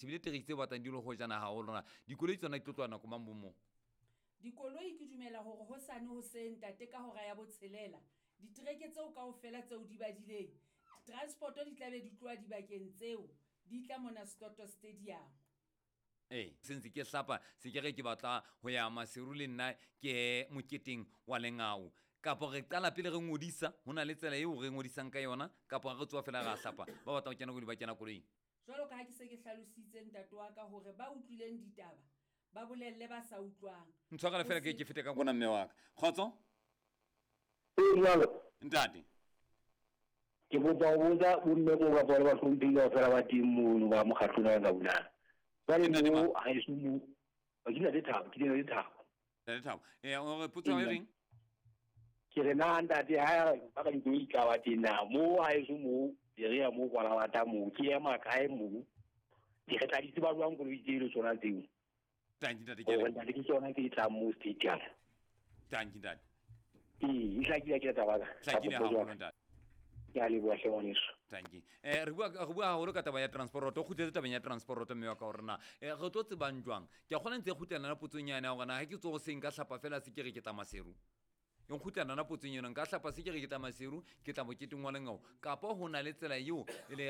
Shebile tereki tse batlang di le hojana haholo na. Dikoloi tsona di tlo tloha nako mang bo moo? Dikoloi ke dumela hore hosane hoseng ntate ka hora ya botshelela, ditereke tseo kaofela tseo di badileng, transport di tla be di tloha dibakeng tseo di tla mona Setoto Stadium. Ee, se ntse ke hlapa se ke re ke batla ho ya Maseru le nna ke moketeng wa lengau. Kapa re qala pele re ngodisa, ho na le tsela eo re ngodisang ka yona, kapa re tsoha fela ra hlapa. Ba batlang ho kena koloi ba kena koloing. Jwalo ka ha ke se ke hlalositse ntate wa ka hore ba utlwileng ditaba ba bolelle ba sa utlwang. Ntshwarele fela ke ke fete ka kona mme wa ka. Kgotso? Ee, jwalo. Ntate. Ke kopa ho botsa bomme moo kapa le bahlomphehi kaofela ba teng mono ba mokgatlong wa ka bunana. Jwale Ntate mo mang? haeso mo ke Ntate Thabo, ke Ntate Thabo. Ntate Thabo. Eh, o re potso ya hao e reng? Ke re na ntate ha ba ka dikoloi di tla ba teng na mo haeso mo area mo Kwalabata mo ke ema kae mo? Ke re tla di tseba jwang koloi tseo le tsona tseo? Tanki ntate ke a Hore leboha. ntate ke tsona tse tlang mo stadium. Tanki ntate. Ee, e hlakile akere taba ya ka? Hlakile Kapa haholo jwang? ntate. Ke a leboha hle ngwaneso. Tanki. Eh re bua re bua haholo ka taba ya transport. O kgutletse tabeng ya transport mme wa ka hore na eh, re tlo tsebang jwang. Ke a kgona ntse e kgutlela na potsong yane ya hore na ha ke tsoho seng ka hlapa fela se ke re ke tla Maseru. E nkgutlela na potsong eno nka hlapa se ke re ke tla Maseru ke tla moketeng wa lengau kapa ho na le tsela eo le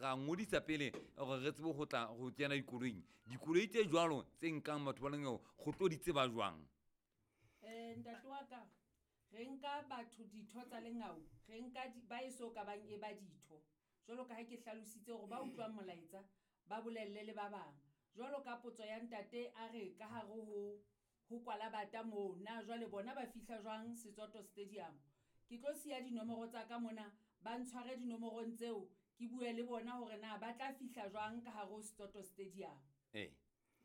ra ngodisa pele hore re tsebe ho tla ho kena dikoloing. Dikoloi tse jwalo tse nkang batho ba lengau go tlo di tseba jwang? Eh ntate wa ka re nka batho ditho tsa lengau re nka ba eso ka bang e ba ditho jwalo ka ha ke hlalositse hore ba utlwang molaetsa ba bolelle le ba bang. Jwalo ka potso ya ntate a re ka hare ho ho Kwalabata moo na jwale bona ba fihla jwang Setsoto Stadium. Ke tlo siya dinomoro tsa ka mona ba ntshware dinomorong tseo ke bue le bona hore na ba tla fihla jwang ka hare ho Setsoto Stadium. Ee.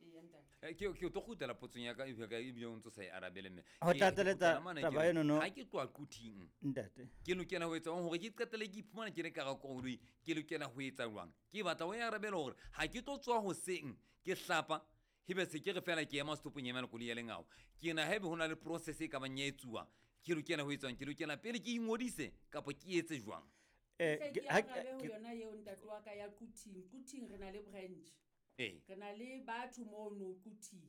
Eya ntate. Eh, ke ke tlo kgutlela potsong ya ka ebile ka ebile o ntso sa e arabele mme. Ho Ke- tlatseletsa ke kgutlela mane ke taba re, eno no. Ha ke tloha Quthing. Ntate. Ke lokela ho etsa jwang hore ke qetelle ke iphumana ke le ka hara koloi, ke lokela ho etsa jwang? Ke batla o e arabele hore ha ke tlo tswa hoseng ke hlapa ebe se ke re fela ke ema setopong emela koloi ya lengau. Ke na haebe ho na le process e ka bang ya etsuwa, ke lokela ho etswang? Ke lokela pele ke ingodise kapa ke etse jwang? Eh, Hle ke ke ha arabe ho ke yona eo ntate wa ka ya Quthing. Quthing re na le branch. Ee. Re na le batho mono Quthing.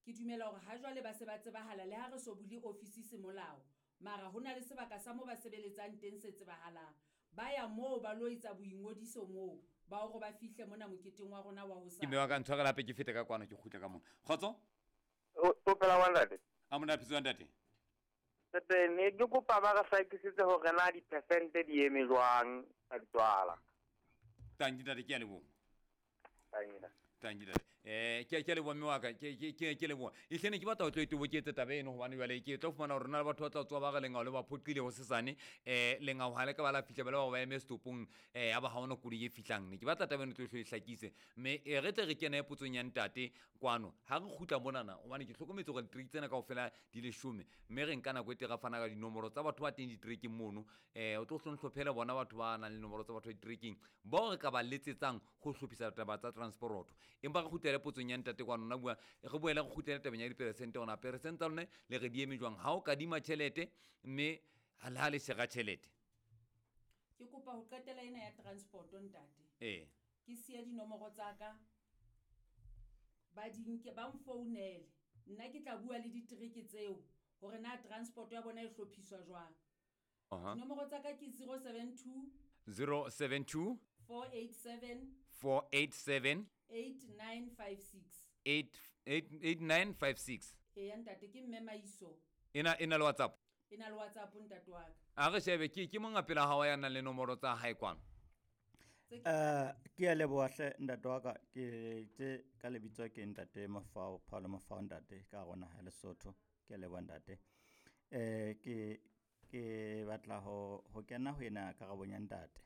Ke dumela hore ha jwale ba se ba tsebahala le ha re so bule ofisi semolao. Mara ho na le sebaka sa mo ba sebeletsang teng se tsebahalang. Ba ya moo ba lo etsa boingodiso moo ba hore ba fihle mona moketeng wa rona wa Ke mme wa ka ntshwarela hape ke fete ka kwano ke kgutle ka mona. Kgotso? O o phela wa ntate? A mona phetse ntate. Tete ne ke kopa ba re hlakisetse hore na di-percent di eme jwang tsa ditswala. Tanki ntate ke a leboha. Tanki ntate. Tanki ntate. Eh ke ke leboha mme wa ka ke ke ke ke leboha. Ehlene ke batla ho tlo itoboketse taba eno hobane jwale ke tlo fumana hore na le batho ba tla tswa ba re lengau le ba phoqile ho sesane. Eh lengau ha le ka ba la fihla ba le ba ba eme setopong eh ya ba ha hona koloi e fihlang. Ne ke batla taba eno tlo e hlakise. Mme e re tle re kene potsong ya ntate kwano. Ha re kgutla monana hobane ke hlokometse hore ditereke tsena kaofela di leshome. Mme re nka nako e teng ra fana ka dinomoro tsa batho ba teng diterekeng mono. Eh o tlo hlonhlophele bona batho ba nang le nomoro tsa batho ba diterekeng bao re ka ba letsetsang ho hlophisa taba tsa transporoto. Empa re kgutlele potsong ya ntate kwano nna bua re boele re kgutlele tabeng ya diperesente hona peresente tsa lone le re di eme jwang ha o kadima tjhelete mme le ha le shera tjhelete. Ke kopa ho qetela ena ya transport ntate. Ee. Ke siye dinomoro tsa ka ba di nke ba mfounele. Nna ke tla bua le ditereke tseo hore na transport ya bona e hlophiswa jwang. Aha. Dinomoro tsa ka ke 072 072 487 487 8956. 8956. Eya ntate ke mme Maiso. Ena ena le WhatsApp. E na le WhatsApp ntate wa ka. A re shebe ke ke monga pela hao ya nang le nomoro tsa hae kwano. Eh ke a leboha hle ntate wa ka ke tse ka lebitso ke ntate Mafao Paulo Mafao ntate ka rona ha Lesotho ke a leboha ntate. Eh ke ke batla ho ho kena ho ena karabong ya ntate.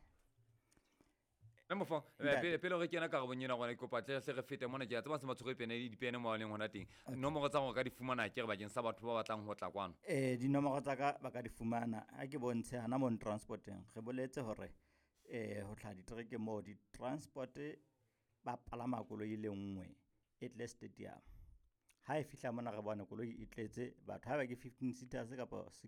Mme Mofao, Ntate. pele pele re kena karabong ena gona ke kopa tle hle re fete mona ke a tseba se ba tshwere pene le dipene mo ba leng hona teng. Nomoro tsa hore ka di fumana ke re bakeng sa batho ba batlang ho tla kwano. Eh dinomoro tsa ka ba ka di fumana ha ke bontshe hana mo transporteng re boletse hore eh ho tlhaha ditereke moo di-transport ba palama koloi e le nngwe e tle stadium. Ha e fihla mona re bone koloi e tletse batho haeba ke 15 seaters kapa